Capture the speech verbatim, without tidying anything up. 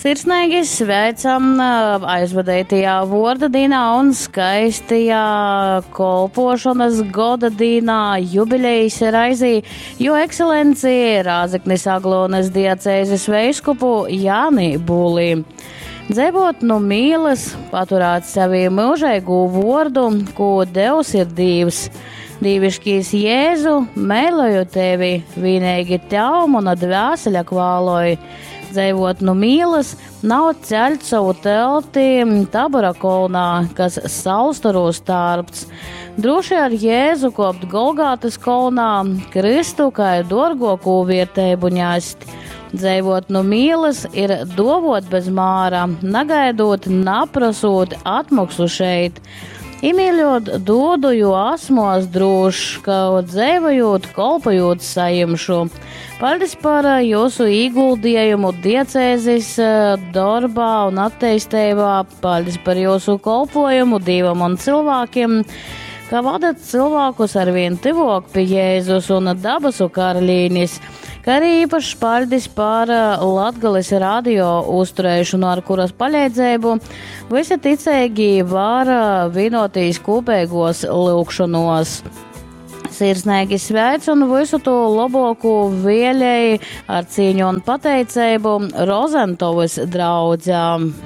Sirsnīgi sveicam aizvadītajā vuorda dīnā un skaistajā kolpošanas goda dīnā jubilejas raizī, jo ekscelenci Rāzeknis Aglonas diacēzes veiskupu Jāni Būlī. Dzeivot nu mīlas, paturēt sevī mūžīgu vordu, ko Devs ir Dīvs. Dīviškīs Jēzu, mēloju tevi, vienīgi tev mana dvēsele kvāloj. Dzeivot nu mīlas, nav ceļt savu telti Tabora kolnā, kas saulstorūs tārpts. Droši ar Jēzu kopt Golgātas kolnā, Kristu kā dorgokū vietēbu ņest. Dzeivot nu mīlas ir dovot bez māra, nagaidot, naprasot atmaksu šeit. Imīļot dodu, jo esmu drošs, ka dzīvojot, kolpojot saimšu. Paldies par jūsu ieguldījumu diecēzes darbā un attīstībā. Paldies par jūsu kolpojumu Dievam un cilvēkiem, ka vadat cilvēkus arvien tuvāk pie Jēzus un dabasu karalīnis. Kā arī īpašs paļdis par Latgales radio uzturēšanu, ar kuras palīdzību visi ticīgi var vienotīs kopīgos lūgšanos. Sirsnīgi sveic un visu to labāko vēlēji ar cīņu un pateicību Rozentovas draudzām.